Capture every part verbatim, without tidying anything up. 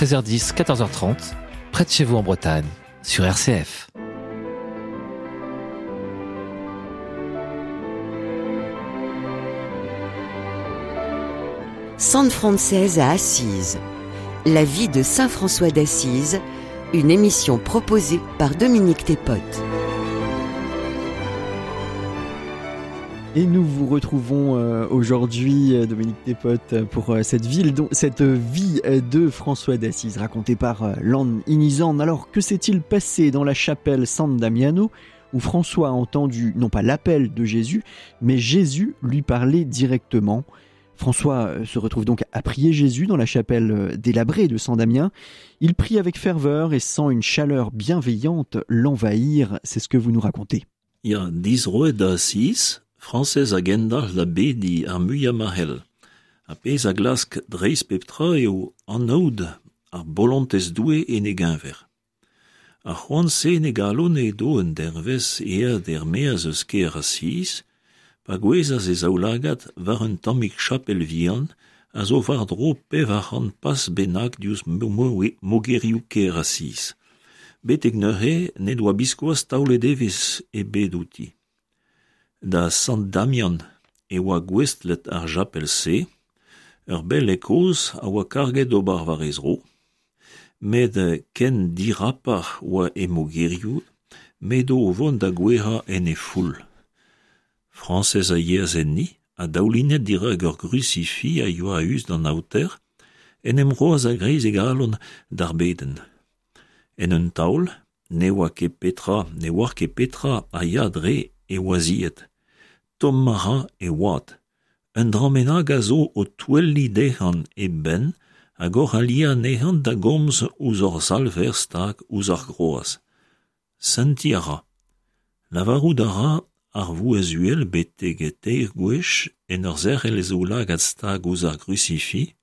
treize heures dix, quatorze heures trente, près de chez vous en Bretagne, sur R C F. San Francés à Assise. La vie de Saint François d'Assise, une émission proposée par Dominique Thépote. Et nous vous retrouvons euh, aujourd'hui, Dominique Thépote, pour euh, cette ville, dont, cette vie de François d'Assise, racontée par euh, Lan Inizan. Alors, que s'est-il passé dans la chapelle San Damiano, où François a entendu, non pas l'appel de Jésus, mais Jésus lui parlait directement? François se retrouve donc à prier Jésus dans la chapelle délabrée de San Damien. Il prie avec ferveur et sent une chaleur bienveillante l'envahir. C'est ce que vous nous racontez. Ya dizroet da Asiz, Frañsez a gendalc'h da bediñ ar muiañ ma c'hell. A pezh a glask dreist pep tra eo anaout ar bolontez Doue en e geñver. Ar c'hoant-se ne galon edo un dervez eat er-maez eus kêr Asiz, pa gouezas e zaoulagad war un tammig chapel vihan a zo war-dro pevar c'hant pas bennak diouzh mogerioù kêr Asiz. Betek neuze ne doa biskoazh taolet evezh ebet outi. Da Sant Damian e oa gouestlet ar chapel-se, ur bell e kozh a oa karget ober war e zro, met ken dirapar oa e mogerioù, met o vont da gouezhañ en e foull. Frañsez a yeas enni, a daoulinet dirak ur grusifi a yoa a-us d'an aoter, en em roas a-greiz e galon d'ar bedenn. En un taol, ne oa ket petra, ne oar ket petra a ya dre e oaziet. Tomm a ra e oad. Un dra bennak a zo o touelliñ dezhañ e benn hag oc'h aliañ anezhañ da gomz ouzh ur salver stag ouzh ar groaz. Sentiñ a ra. Lavarout a ra ar vouezh uhel betek teir gwech en ur zerc'hel e zaoulagad stag ouzh ar grusifi.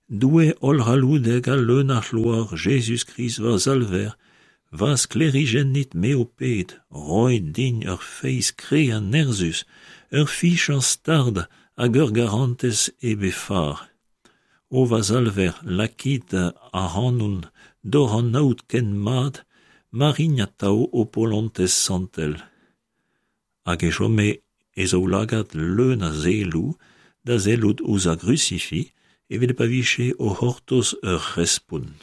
Doue hollc'halloudek ha leun a c'hloar Jezuz-Krist va salver, va sklêrijennit me ho ped, roit din ur feiz kre ha nerzhus, ur fichañ stard hag ur garantez hep he far. O va salver, lakit ac'hanon d'hoc'h anaout ken mat, ma rin atav ho polontez santel. Hag e chome e zaoulagad leun a selloù da sellout ouzh ar grusifi evel pa vije o c'hortoz ur respont.